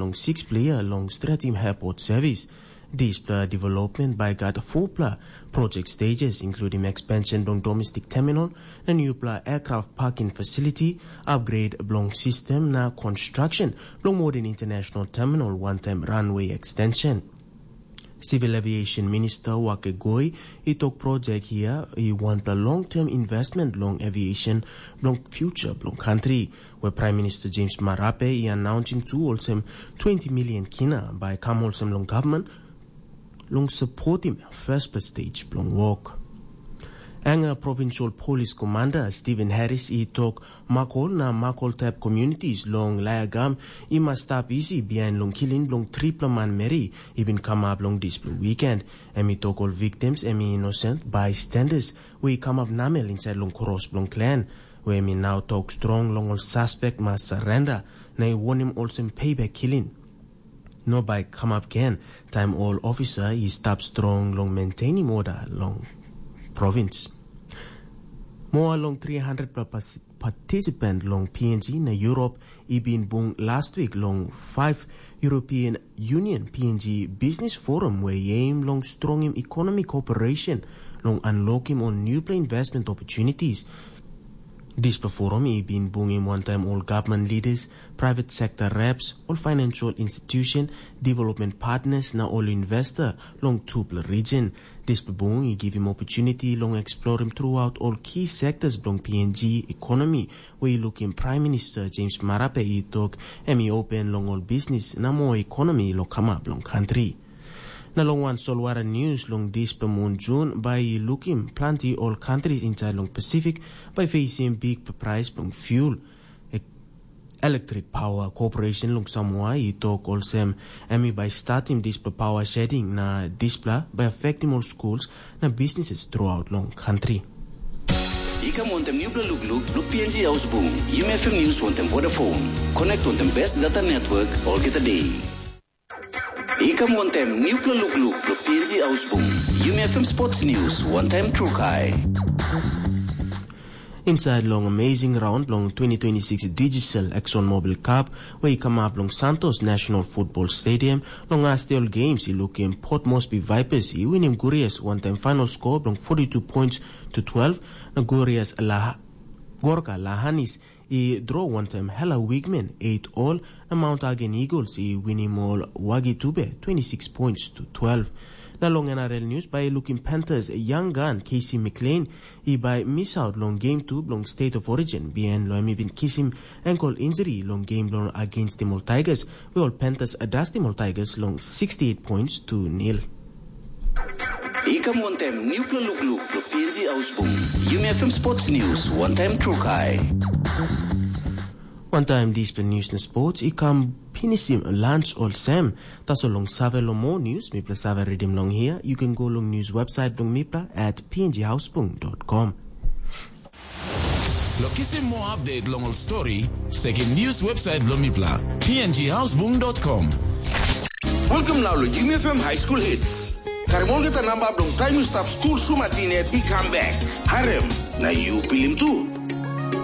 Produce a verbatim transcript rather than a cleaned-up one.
long six player long Stretim Airport Service. Dispela development bai gat four pla project stages, including expansion bilong domestic terminal, na newpela aircraft parking facility, upgrade bilong system na construction bilong modern international terminal, one time runway extension. Civil Aviation Minister Wake Goi i tok project hia i wanpela long-term investment long aviation bilong future bilong country, where Prime Minister James Marape i announcing tu olsem twenty million kina bai kam olsem long government long supportim first stage bilong work. Anga Provincial Police Commander Stephen Harris i tok Makol na Makol Tap communities long Layagam i mas stap isi bihain long killing bilong tripela manmeri i bin kamap long dispela weekend. Em i tok ol victims em i innocent bystanders we i kamap namel inside long kros bilong klan, we em i nau tok strong long ol suspek mas surrender na i wonim olsem payback killing. No bai kamap gen taim ol ofisa i stap strong long maintainim oda long provins. Moa long three hundred pla pas- participant long P N G na Europe i bin bung last week long five European Union P N G Business Forum, we aim long strongim economic cooperation long unlockim ol newpela investment opportunities. Dispela forum i bin bungim wantaim ol government leaders, private sector reps, ol financial institution, development partners na ol investor long tupela region. Dispela bung i givim opportunity long explorim throughout ol key sectors bilong P N G economy, where i lukim Prime Minister James Marape i tok em i open long ol business na more economy long kamap long country. Na long wan solwara news long dispela mun Jun, bai i lukim planti ol countries inside long Pacific bai facing big price bilong fuel. E- Electric Power Corporation long Samoa i tok olsem, em i bai statim dispela power shedding na dispela bai affectim ol schools na businesses throughout long country. I kam wantem nupela lukluk lo P N G Ausbung, Yumi F M News wantem Vodafone. Connect wantem best data network olgeta day. I kam wantem nupela lukluk lo P N G Ausbung, Yumi F M Sports News wantem Trukai. Inside long amazing round long twenty twenty-six Digital ExxonMobil Cup, where i kamap long Santos National Football Stadium, long Astiol Games i lukim Port Moresby Vipers i winim Gurias wantem final score bilong forty-two points to twelve, na Gurias La Gorka Lahanis i draw wantem Hela Wigmen eight all, na Mount Hagen Eagles i winim ol Wagi Tube twenty-six points to twelve. Na long N R L news, bai lukim Panthers young gun Casey McLean i bai miss out long game two bilong State of Origin, bihain long em i bin kisim ankle injury long game bilong against ol Tigers, where ol Panthers adastim ol Tigers long sixty-eight points to nil. I kam wantem nupela lukluk lo P N G Ausbung, Yumi F M Sports News wantem Trukai. Wantaim dispela news na sports i kam pinisim lunch olsem. Tasol long save long more news, mipela save redim long hia, you can go long news website bilong mipela at pnghausbung.com. Lo kisim more update long ol story, sekim news website bilong mipela, pnghausbung.com. Welcome now lo Yumi F M High School Hits. Karim olgeta namba bilong taim yu stap skul sumatin yet i kam bek. Harim, na yu pilim tu.